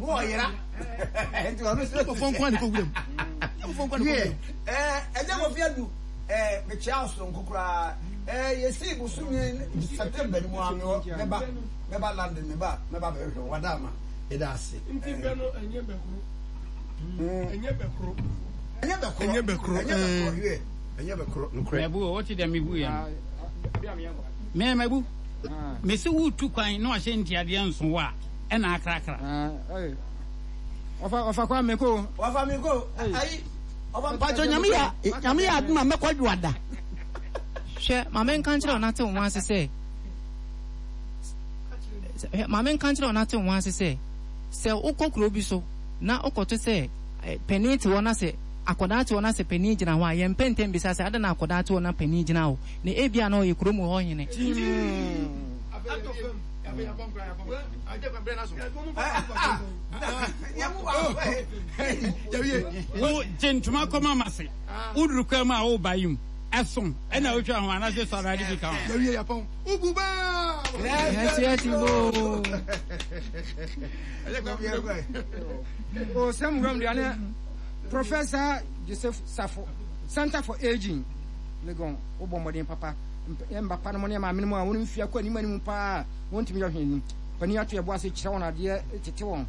Wɔyera. Nti ɔno nso. Nkurɔfoɔ nko ara na ɛkɔ wuram. Nkurɔfoɔ nko ara na ɛkɔ wuram. Ɛgya Kofi Adu, mekyia wo soronko koraa. Yɛsii bosome September no mu a mewɔ mɛba mɛba London meba mɛba bɛhwehwɛ wo wada ama yɛda ase. Nti bɛ no ɛnyɛ bɛ koro. Ɛnyɛ bɛ koro. Ɛnyɛ bɛ koro. Ɛnyɛ bɛ koro. Ɛnyɛ bɛ koro. Yɛ ɛnyɛ bɛ koro. Nokorɛ. Mɛbu o, wote dɛ mebu yɛ no. Mɛ mɛbu. Mese wotu kwan na wahyɛ ntiadeɛ nso wo a, ɛna akrakra. Ɔfa ɔfa kwa meko. Ɔfa meko. Ayi. Ɔfa Mpatsɔ nyame yɛ nyame yɛ adom a mɛkɔ dwoada. Hwɛ, ma menka nkyerɛ wo na te wo ho ase sɛ, hwɛ, ma menka nkyerɛ wo na te wo ho ase sɛ, sɛ wokɔ kuro bi so na wokɔto sɛ panin te hɔ na sɛ akwadaa te hɔ na sɛ panin gyina hɔ a, yɛmpɛ ntɛm bisa sɛ adɛn na akwadaa te hɔ na panin gyina hɔ, na ebia na ɔyɛ kurom hɔ hene. Wo gye ntoma kɔma ma se woduru kwan mu a woba yi mu ɛso ɛna wotwa ho anaasɛ sɔ awurade bi ka ho. Yɛwie yɛpɔn ugu baa. O sɛm wuram deɛ ne Professor Joseph Safo Center for Aging Legon wobɔ mmɔden papa mba pa no mo ne maame no mu a wɔn mfie akɔ anim anim paa wɔntumi yɛ hwee no panin ato ɛbo ase kyerɛ wɔn adeɛ tete wɔn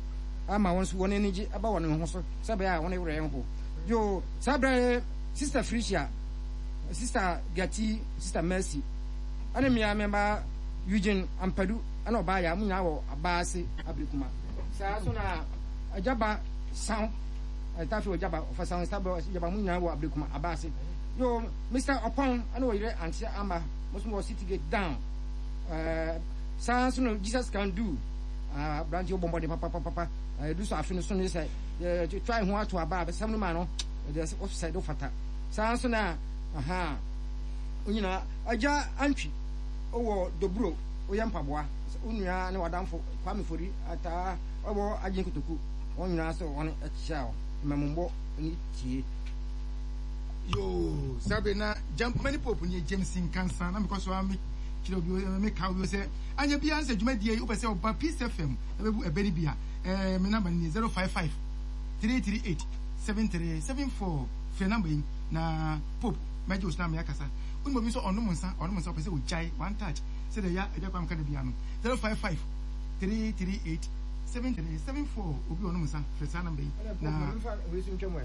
ama wɔn nso wɔn ani gye ɛba wɔn ho so sɛ ɛbɛyɛ a wɔn werɛ nho yo saa berɛ Sister Felicia Sister Gati Sister Mercy ɛne mmea mmɛba Eugene Ampadu ɛna ɔbaa yɛ a mo nyinaa wɔ abaase abirikuma saa so na agyaba san ɛtafe wɔ gyaba ɔfa san sábɛ gyaba mo nyinaa wɔ abirikuma abaase yo Mr Ɔpɔn ɛna ɔyere Auntie Ama mo nso wɔ City Gate down ɛɛ saa nso no Jesus can do aberante wɔ bɔnbɔden papapapa ɛdu so afe no so ne sɛ yɛtwa ho ato aba abɛsɛm no ma no ɛde ɔsɛ de fata saa nso na aha onyina agya antwi ɔwɔ doburo oyɛ mpaboa onua ne wadamfo Kwame Fori ataa ɔwɔ agyen kotoku wɔn nyinaa sɛ wɔn ɛkyɛ a mmɛmombɔ ne tie. Yoo, saa bere na Jampmani Pope nie James Nkansa na mekɔ so ara me kyerɛ obi me ka obi sɛ anyɛ biara sɛ dwumadie yi wopɛ sɛ ɔba Peace FM ɛbɛbu ɛbɛ no bi a ɛɛ me namba no nie 055 338 7374 frɛ namba yi na Pope mɛgye wo so na me akasa wonim obi nso ɔnom nsa ɔnom nsa ɔpɛ sɛ ogyae one touch sɛdeɛ ya agya kwam ka da biara no 055 338 7374 obi ɔnom nsa frɛ saa namba yi na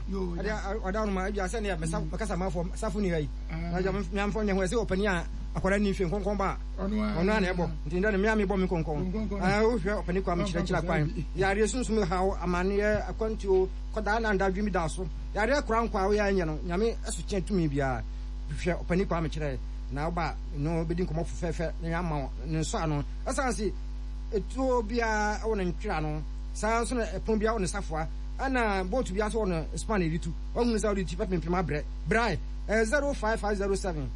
yoo ɔda ɔnom a ebia sɛ ne mɛkasa manfoɔ safo ni ha yi na agya meamfɔ nyɛ ho ɛsɛ ɔpani a akwadaa ni mfe nkɔnkɔn ba a ɔno a na ɛbɔ nti ndɛ no mea mebɔ me nkɔnkɔn wohwɛ ɔpani kwa mekyerɛkyerɛ kwan yareɛ sunsum haw amanneɛ akwantuo kɔdaa na nda dwemi da so yareɛ kora nkwa a woyɛ anyɛ no nyame ɛso kyɛn tumi biara hwɛ ɔpani kwa mekyerɛ na woba no bɛdi nkɔmmɔ fɛfɛɛfɛ na yɛama ne nsɔ ano ɛsiane se etuo biara wɔ ne ntwera no saa nso na ɛpono biara wɔ ne safoa ɛna boat biara nso wɔ ne span a yɛde tu wahunu sɛ wode ti bɛpempem abrɛ brae ɛyɛ 05507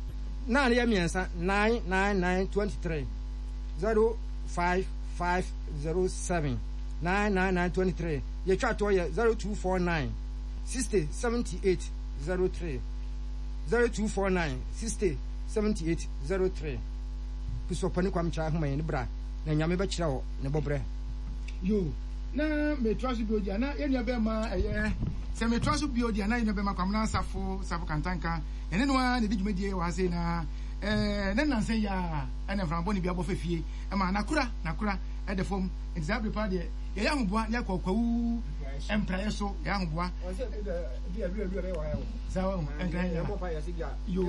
9 yɛ mmiɛnsa 9 9 9 23 05507 9 9 9 23 yɛtwa toɔ yɛ 0249 60 78 03 0249 60 78 03 Kristo ɔpɛ ne kwam kyerɛ ahoma yɛn ne bra na Nyame bɛkyerɛ wo ne bɔbrɛ. Yo, na metoa so bio deɛ na yɛn nua bɛrima ɛyɛ sɛ metoa so bio deɛ na yɛn nua bɛrima Kwamina Safo Safo Kantanka yɛne no ara na ɛdi dwumadie wɔ ha sei na ɛɛ ne nnansa yi a ɛna mframa bɔne bi abɔ fa fie ɛma nakora nakora ɛda fam nti saa bere paa deɛ yɛyɛ ahoboa ne akɔ kwawu mpraeɛ so yɛyɛ ahoboa saa nkran yɛ yo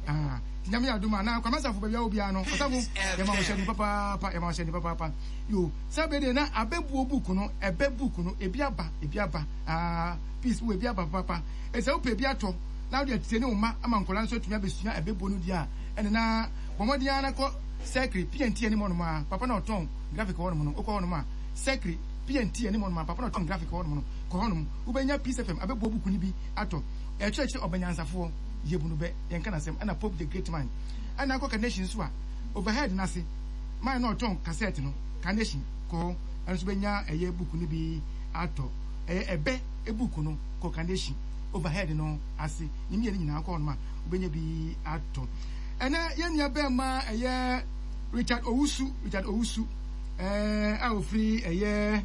ah nyame yɛ adom a na Kwamina Safo baabi a wɔ biara no ɔsafo yɛma wo hyɛ ne papaapa yɛma wo hyɛ ne papaapa Yo, saa bere deɛ na abɛbuo book no, ɛbɛ book no, ebi aba, ebi aba, ah, peace, wo ebi aba papaapa. Eti sɛ wopɛ ebi atɔ, na wode atie ne wo mma ama nkwadaa nso atumi abɛsua ɛbɛbuo no deɛ a, ɛne na bɔ mmɔden ara na kɔ Sɛkre, PNT anim hɔnom a, papa na ɔtɔn graphic wɔ hɔnom no, wokɔ hɔnom a, Sɛkre, PNT anim hɔnom a, papa na ɔtɔn graphic wɔ hɔnom no, kɔ hɔnom, wobɛnya Peace FM abɛbuo book no bi atɔ. Ɛkyerɛkyerɛ ɔbɛnyansafoɔ, yɛbu no bɛ, yɛnka n'asɛm, ɛna Pope the Great Man. Ɛna akɔ Carnation nso a, overhead no ase, Man na ɔtɔn kasɛt no, Carnation, kɔ hɔ, ɛno nso bɛnya ɛyɛ book no bi atɔ. Ɛyɛ ɛbɛ book no, kɔ Carnation, overhead no ase, ne mmienu nyinaa kɔ hɔnom a, wobɛnya bi atɔ. Ɛnɛ yɛn nua bɛrima ɛyɛ Richard Owusu, Richard Owusu, ɛɛ a ofiri ɛyɛ.